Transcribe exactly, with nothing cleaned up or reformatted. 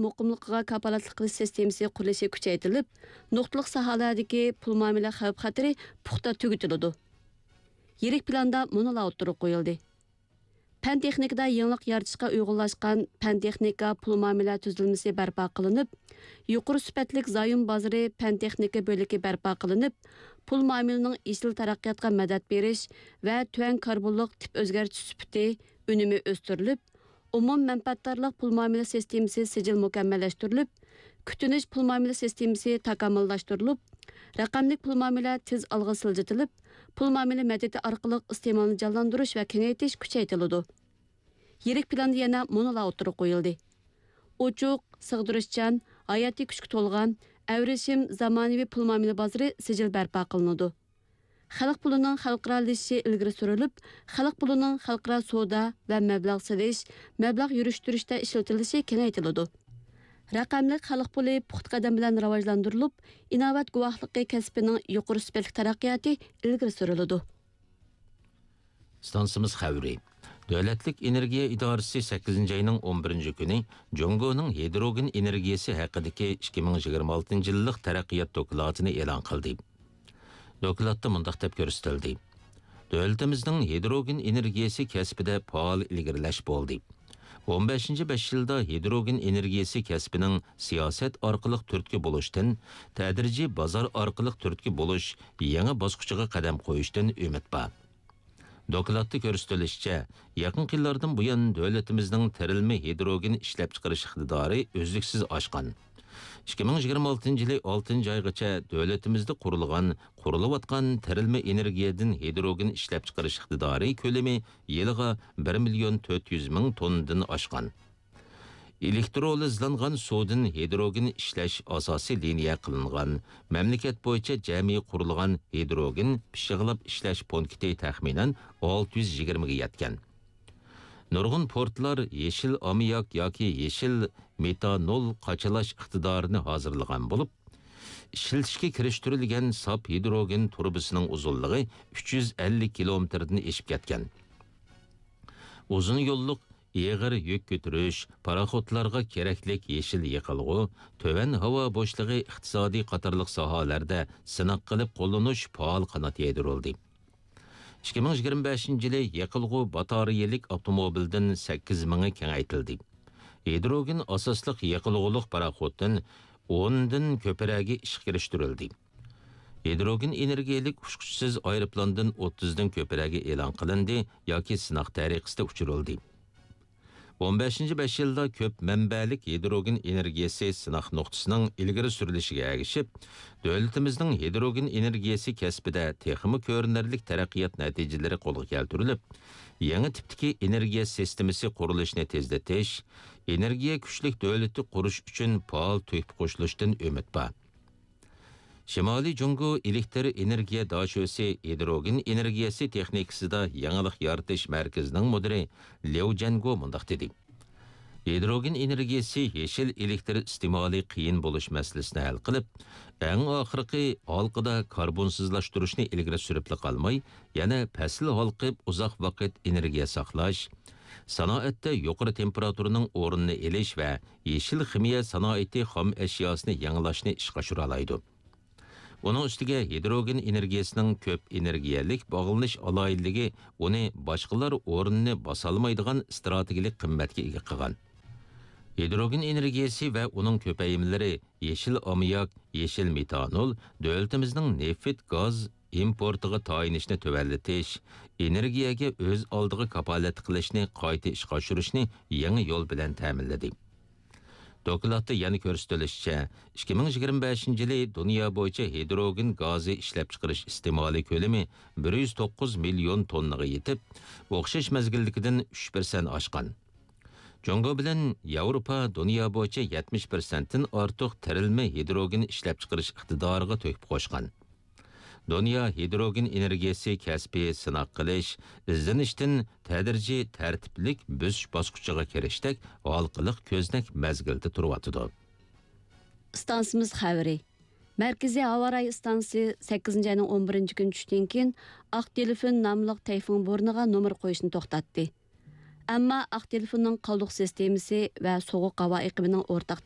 مۇقىملىقىغا كاپالەتلىك قىلىش سىستېمىسى قۇرۇلۇشى كۈچەيتىلىپ، نۇقتىلىق ساھەلەردىكى پۇل مۇئامىلە خەۋپ-خەتىرى پۇختا تۈگىتىلىدۇ. يىرىك پىلاندا مۇنۇلار ئوتتۇرىغا قويۇلدى. پەن-تېخنىكىدا يېڭىلىق يارىتىشقا ئۇيغۇنلاشقان پەن-تېخنىكا پۇل مۇئامىلە تۈزۈلمىسى بەرپا قىلىنىپ، يۇقىرى سۈپەتلىك زايوم بازىرى پەن-تېخنىكا بۆلىكى بەرپا قىلىنىپ، پۇل مۇئامىلىنىڭ يېشىل تەرەققىياتقا مەدەت بېرىش ۋە تۆۋەن كاربونلۇق تىپ ئۆزگەرتىش سۈپىتى ئۈنۈمى ئۆستۈرۈلۈپ، ئومۇم مەنپەئەتدارلىق پۇل مۇئامىلە سىستېمىسى سىجىل مۇكەممەللەشتۈرۈلۈپ، كۈتۈنۈش پۇل مۇئامىلە سىستېمىسى تاكامۇللاشتۇرۇلۇپ، رەقەملىك پۇل مۇئامىلە تېز ئالغا سىلجىتىلىپ، پۇل مۇئامىلە مەدەتى ئارقىلىق ئىستېمالنى جانلاندۇرۇش ۋە كېڭەيتىش كۈچەيتىلىدۇ. يىرىك پىلاندا يەنە مۇنۇلار ئوتتۇرىغا قويۇلدى. ئوچۇق، سىغدۇرۇشچان، ھاياتىي كۈچكە تولغان، ئەۋرىشىم زامانىۋى پۇل مۇئامىلە بازىرى سىجىل بەرپا قىلىنىدۇ. خەلق پۇلىنىڭ خەلقئارالىشىشى ئىلگىرى سۈرۈلۈپ، خەلق پۇلىنىڭ خەلقئارا سودا ۋە مەبلەغ سېلىش، مەبلەغ يۈرۈشتۈرۈشتە ئىشلىتىلىشى كېڭەيتىلىدۇ. رەقەملىك خەلق پۇلى پۇختا قەدەم بىلەن راۋاجلاندۇرۇلۇپ، ئىناۋەت گۇۋاھلىقى كەسپىنىڭ يۇقىرى سۈپەتلىك تەرەققىياتى ئىلگىرى سۈرۈلىدۇ. ئىستانسىمىز خەۋىرى. دۆلەتلىك ئېنېرگىيە ئىدارىسى سەككىزىنچى ئاينىڭ ئون بىرىنچى كۈنى جۇڭگونىڭ ھىدروگېن ئېنېرگىيەسى ھەققىدىكى ئىككى مىڭ يىگىرمە ئالتىنچى يىللىق تەرەققىيات دوكلاتىنى ئېلان قىلدى. دوكلاتتا مۇنداق دەپ كۆرسىتىلدى: دۆلىتىمىزنىڭ ھىدروگېن ئېنېرگىيەسى كەسپىدە پائال ئىلگىرىلەش بولدى. ئون بەشىنچى بەش يىلدا ھىدروگېن ئېنېرگىيەسى كەسپىنىڭ سىياسەت ئارقىلىق تۈرتكە بولۇشتىن، تەدرىجىي بازار ئارقىلىق تۈرتكە بولۇش يېڭى باسقۇچىغا قەدەم قويۇشتىن ئۈمىد بار. دوكلاتتا كۆرسىتىلىشىچە، يېقىنقى يىللاردىن بۇيان دۆلىتىمىزنىڭ تېرىلمە ھىدروگېن ئىشلەپچىقىرىش ئىقتىدارى ئۈزلۈكسىز ئاشقان. ئىككى مىڭ يىگىرمە ئالتىنچى يىلى ئالتىنچى ئايغىچە دۆلىتىمىزدە قۇرۇلغان، قۇرۇلۇۋاتقان تېرىلمە ئېنېرگىيەدىن ھىدروگېن ئىشلەپچىقىرىش ئىقتىدارى كۆلىمى يىلىغا بىر مىليون تۆت يۈز مىڭ توننىدىن ئاشقان. ئېلېكترولىزلانغان سۇدىن ھىدروگېن ئىشلەش ئاساسىي لىنىيە قىلىنغان، مەملىكەت بويىچە جەمئىي قۇرۇلغان ھىدروگېن پىششىقلاپ ئىشلەش پونكىتى تەخمىنەن ئالتە يۈز يىگىرمىگە يەتكەن. نۇرغۇن پورتلار يېشىل ئاممىياك ياكى يېشىل مېتانول قاچىلاش ئىقتىدارىنى ھازىرلىغان بولۇپ، ئىشلىتىشكە كىرىشتۈرۈلگەن ساپ ھىدروگېن تۇرۇبىسىنىڭ ئۇزۇنلۇقى ئۈچ يۈز ئەللىك كىلومېتىردىن ئېشىپ كەتكەن. ئۇزۇن يوللۇق ئېغىر يۈك كۆتۈرۈش، پاراخوتلارغا كېرەكلىك يېشىل يېقىلغۇ، تۆۋەن ھاۋا بوشلۇقى ئىقتىسادى قاتارلىق ساھەلەردە سىناق قىلىپ قوللىنىش پائال قانات يايدۇرۇلدى. ئىككى مىڭ يىگىرمە بەشىنچى يىلى يېقىلغۇ باتارېيەلىك ئاپتوموبىلدىن سەككىز مىڭى كېڭەيتىلدى. ھىدروگېن ئاساسلىق يېقىلغۇلۇق پاراخوتتىن ئوندىن كۆپرەكى ئىشقا كىرىشتۈرۈلدى. ھىدروگېن ئېنېرگىيەلىك ئۇچقۇچىسىز ئايروپىلاندىن ئوتتۇزدىن كۆپرەكى ئېلان قىلىندى ياكى سىناق تەرىقىسىدە ئۇچۇرۇلدى. ئون بەشىنچى بەش يىلدا كۆپ مەنبەلىك ھىدروگېن ئېنېرگىيەسى سىناق نۇقتىسىنىڭ ئىلگىرى سۈرۈلۈشىگە ئەگىشىپ، دۆلىتىمىزنىڭ ھىدروگېن ئېنېرگىيەسى كەسپىدە تېخىمۇ كۆرۈنەرلىك تەرەققىيات نەتىجىلىرى قولغا كەلتۈرۈلۈپ، يېڭى تىپتىكى ئېنېرگىيە سىستېمىسى قۇرۇلۇشىنى تېزلىتىش، ئېنېرگىيە كۈچلۈك دۆلىتى قۇرۇش ئۈچۈن پائال تۆھپە قوشۇلۇشتىن ئۈمىد بار. شىمالىي جۇڭگو ئېلېكتر ئېنېرگىيە داشۆسى ھىدروگېن ئېنېرگىيەسى تېخنىكىسىدا يېڭىلىق يارىتىش مەركىزىنىڭ مۇدىرى ليۇ جەنگو مۇنداق دېدى: ھىدروگېن ئېنېرگىيەسى يېشىل ئېلېكتر ئىستېمالى قىيىن بولۇش مەسىلىسىنى ھەل قىلىپ، ئەڭ ئاخىرقى ھالقىدا كاربونسىزلاشتۇرۇشنى ئىلگىرى سۈرۈپلا قالماي، يەنە پەسىل ھالقىپ ئۇزاق ۋاقىت ئېنېرگىيە ساقلاش، سانائەتتە يۇقىرى تېمپېراتۇرىنىڭ ئورنىنى ئېلىش ۋە يېشىل خىمىيە سانائىتى خام ئەشياسىنى يېڭىلاشنى ئىشقا ئاشۇرالايدۇ. ئۇنىڭ ئۈستىگە ھىدروگېن ئېنېرگىيەسىنىڭ كۆپ ئېنېرگىيەلىك باغلىنىش ئالاھىدىلىكى ئۇنى باشقىلار ئورنىنى باسالمايدىغان ئىستراتېگىيەلىك قىممەتكە ئىگە قىلغان. ھىدروگېن ئېنېرگىيەسى ۋە ئۇنىڭ كۆپەيمىلىرى يېشىل ئاممىياك، يېشىل مېتانول، دۆلىتىمىزنىڭ نېفىت، گاز ئىمپورتىغا تايىنىشنى تۆۋەنلىتىش، ئېنېرگىيەگە ئۆز ئالدىغا كاپالەتلىك قىلىشنى قايتا ئىشقا ئاشۇرۇشنى يېڭى يول بىلەن تەمىنلىدى. دوكلاتتا يەنە كۆرسىتىلىشىچە، ئىككى مىڭ يىگىرمە بەشىنچى يىلى دۇنيا بويىچە ھىدروگېن گازى ئىشلەپچىقىرىش ئىستېمالى كۆلىمى بىر يۈز توققۇز مىليون توننىغا يېتىپ، ئوخشاش مەزگىلدىكىدىن ئۈچ پىرسەنت ئاشقان. جۇڭگو بىلەن ياۋروپا دۇنيا بويىچە يەتمىش پىرسەنتتىن ئارتۇق تېرىلمە ھىدروگېن ئىشلەپچىقىرىش ئىقتىدارىغا تۆھپە قوشقان. دۇنيا ھىدروگېن ئېنېرگىيەسى كەسپى سىناق قىلىش، ئىزدىنىشتىن تەدرىجىي تەرتىپلىك بۆسۈش باسقۇچىغا كىرىشتەك ھالقىلىق كۆزنەك مەزگىلدە تۇرۇۋاتىدۇ. ئىستانسىمىز خەۋىرى. مەركىزىي ھاۋا رايى ئىستانسىسى سەككىزىنچى ئاينىڭ ئون بىرىنچى كۈنى چۈشتىن كېيىن ئاق دېلفىن ناملىق تەيفۇڭ بورىنىغا نومۇر قويۇشنى توختاتتى. ئەمما ئاق تېلېفوننىڭ قالدۇق سىستېمىسى ۋە سوغۇق ھاۋا ئېقىمىنىڭ ئورتاق